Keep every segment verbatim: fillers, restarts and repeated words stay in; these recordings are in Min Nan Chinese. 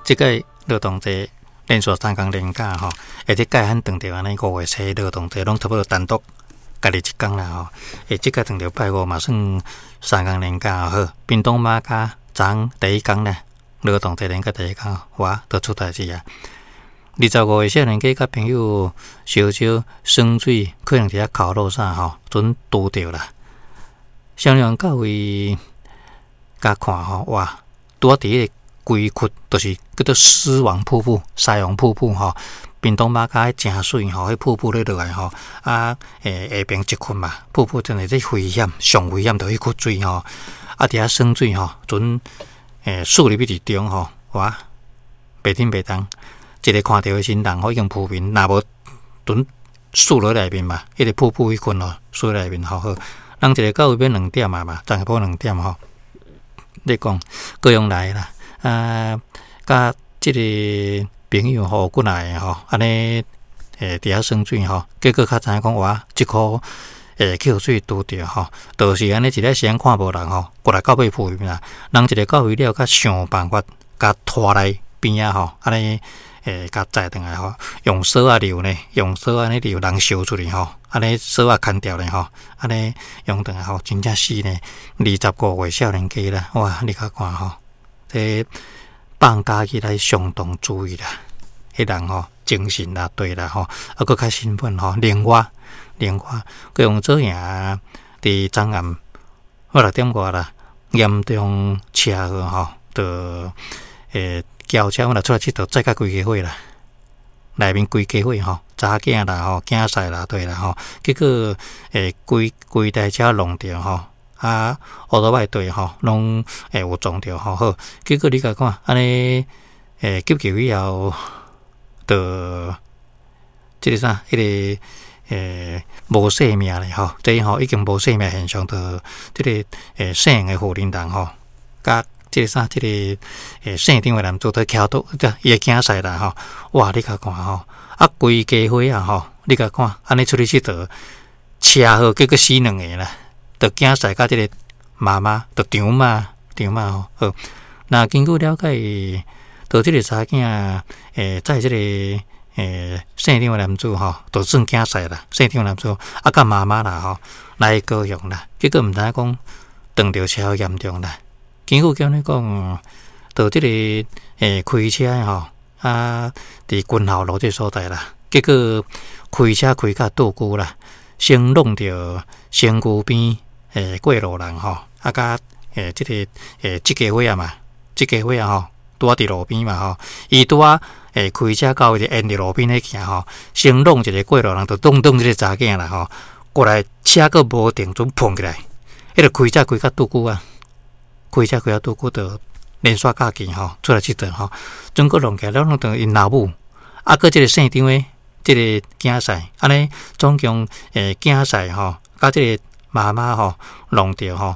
這個勞動節連續三工連假吼，會這屆罕撞著按呢五月初勞動節，攏差不多單獨家己一工啦吼。會這屆撞著拜五嘛，算三工連假好。屏東瑪家昨昏第一工咧，勞動節連假第一工，哇，都出代誌啊！二十五歲少年家佮朋友相招耍水，可能佇遐烤肉啥吼，陣拄著啦。少年到位共看吼，哇，拄仔佇彼个龜窟，就是叫做獅王瀑布、獅王瀑布吼。屏東瑪家彼誠媠吼，彼瀑布咧落來吼，啊，欸，下爿一窟嘛，瀑布真的這危險，上危險就彼窟水吼，啊，佇遐耍水吼，陣欸竄入去佇中吼，哇，袂振袂動，一个看著的時人吼已經浮面，若無陣竄落內面嘛，彼个瀑布彼窟吼，竄內面吼好。人一個到位欲兩點啊嘛，昨下晡兩點吼，咧講高雄來啦，啊，佮這个朋友吼過來吼，按呢欸佇遐耍水吼，結果較知影講哇，這箍欸去予水拄著吼，就是按呢一个時間看無人吼，過來到尾浮面啦，人一個到位了，閣想辦法共拖來邊仔吼，按呢欸共載轉來吼，用索仔溜呢，用索仔按呢溜人燒出去吼，按呢索仔牽牢咧吼，按呢用轉來吼，真正死呢，二十五歲少年家啦，哇，你較看吼，這放假起來相當注意啦，彼人吼精神啦對啦吼，啊閣較興奮吼，另外另外，閣用做營佇昨暗我六點外啦，嚴重車禍吼，就欸轎車阮若出來𨑨迌，載甲規家伙啦，內面規家伙吼，查囝啦吼，囝婿啦對啦吼，結果欸規規台車弄著吼，啊烏多擺對吼，攏會有撞著吼好，結果你共看按呢欸急救以後，就這个啥，彼个欸無性命咧吼，這吼已經無性命現象，就這个欸姓的婦人人吼，佮這个啥，這个欸姓張的男子佇徛倒，這伊的囝婿啦吼，哇！你共看吼，啊規家伙啊吼，你共看按呢出去𨑨迌，車禍結果死兩个啦，就囝婿佮這个媽媽，就丈媽丈媽吼。好，那根據了解，就這个查囝欸載這个欸姓張的男子吼，就算囝婿啦，姓張的男子啊佮媽媽啦吼來高雄啦，結果毋知影講撞著車禍嚴重啦。根據檢你講，就這个欸開車的吼，啊，佇軍校路這所在啦，結果開車開甲倒龜啦，先弄著身軀邊欸過路人吼，啊佮欸這个欸這家伙仔嘛，這家伙仔吼，拄仔佇路邊嘛吼，伊拄仔欸開車到位就沿佇路邊咧行吼，先弄一个過路人，就撞撞這个查囝啦吼，過來車閣無停準碰起來，彼个開車開甲倒龜啊！開車開甲倒龜就連續駕機吼，出來𨑨迌吼，準閣弄起來了，弄著𪜶老母，啊，閣這个姓張的這个囝婿，按呢總共欸囝婿吼，佮這个媽媽吼弄著吼，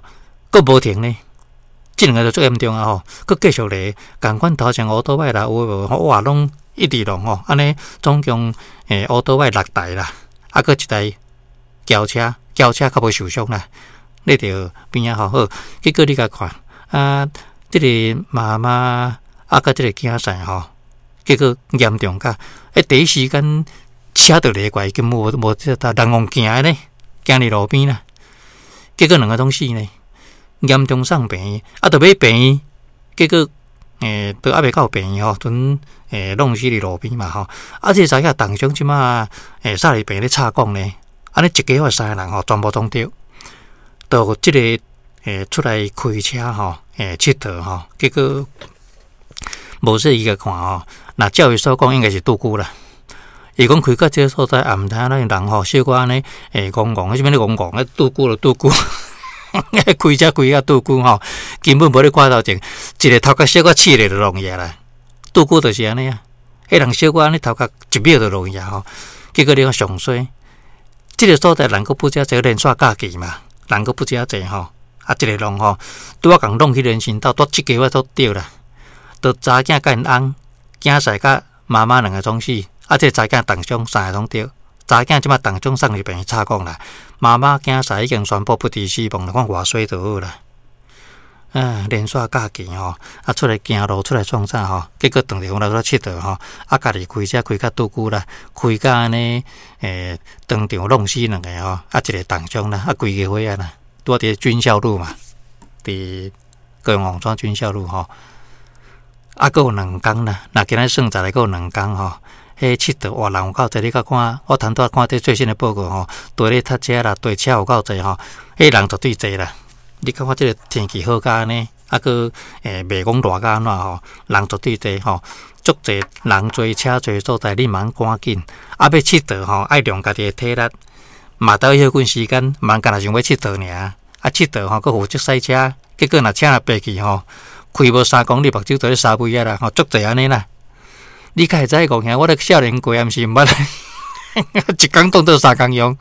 閣無停呢，這兩個就足嚴重啊吼，閣繼續咧，仝款頭前烏多擺啦，有無哇，攏一直弄吼，按呢總共欸烏多擺六台啦，啊，閣一台轎車，轎車較無受傷啦，咧著邊仔吼好，結果你共看。啊，這個媽媽啊，佮這個囝婿吼，結果嚴重甲，欸，第一時間車就掠過來，根本無無這人戇行的呢，行佇路邊啦，結果兩個攏死呢，嚴重送病院，啊，著欲病院，結果欸，都猶未到病院吼，陣欸弄死佇路邊嘛吼，啊，這個查囝重傷，這馬欸送入病院咧插管呢，按呢一家伙三个人吼，全部攏著，就這个。欸，出來開車吼，欸，𨑨迌吼，結果無細意共看吼，若照伊所講，應該是拄久啦。伊講開到這个所在，也毋知影咱人吼，小可按呢，欸，戇戇，啥物咧戇戇，拄久就拄久，開車開甲拄久吼，根本無咧看頭前，一个頭殼小可刺咧就弄去啦。拄久就是按呢啊，彼人小可按呢頭殼一秒就弄去吼，結果你看上衰，這个所在人閣不遮濟連續駕機嘛，人閣不遮濟吼。啊，這个弄吼，拄仔共弄去人行道，拄這家伙都著啦，就查囝佮𪜶翁，囝婿佮媽媽兩个攏死，啊，這个查囝重傷，三个攏著。查囝這馬重傷送入病院插管啦，媽媽囝婿已經宣布不治死亡啦，看偌衰就好啦。啊，連續假期吼，啊出來行路出來創啥吼，結果當著阮來出佚佗吼，啊家己開車開較拄久啦，開甲按呢，欸，當場弄死兩個吼，啊一個重傷啦，啊規家伙仔啦，拄佇軍校路嘛，佇高雄王川軍校路吼，啊閣有兩工啦，若今仔算十個閣有兩工吼，彼佚佗哇人有夠濟，你閣看我頭拄仔看這最新的報告吼，綴咧塞車啦，綴車有夠濟吼，彼人絕對濟啦。你感覺這个天氣好甲按呢，啊閣欸袂講熱甲按怎吼，人絕對濟吼，足濟人濟車濟所在，你嘛趕緊，啊欲𨑨迌吼，愛用家己的體力，嘛愛歇睏時間，嘛干焦想欲𨑨迌爾，啊𨑨迌吼，閣負責駛車，結果若車若白去吼，開無三公里，目睭就咧沙飛仔啦，吼，足濟按呢啦。你敢會知戇兄？我咧少年過，毋是毋捌，一工當做三工用。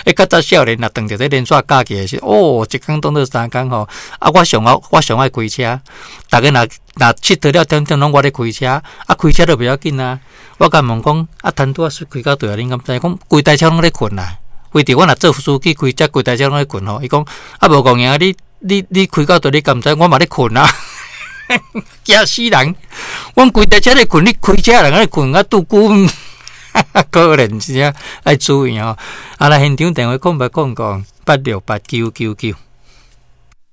欸，較早少年若當著這連續假期的時，哦，一工當做三工吼。啊，我上愛我上愛開車，逐家若若𨑨迌了點點攏我咧開車，啊，開車就袂要緊啊。我共問講，啊，陳拄仔開到佗啊，恁敢知？講規台車攏咧睏啦。非著我若做司機開車，規台車攏咧睏吼。伊講啊，無戇兄，你你你開到佗，你敢知？我嘛咧睏啊。驚死人！阮規台車咧睏，你開車人咧睏啊，拄久，可憐真正愛注意吼。啊，來現場電話空八空空八六八九九九。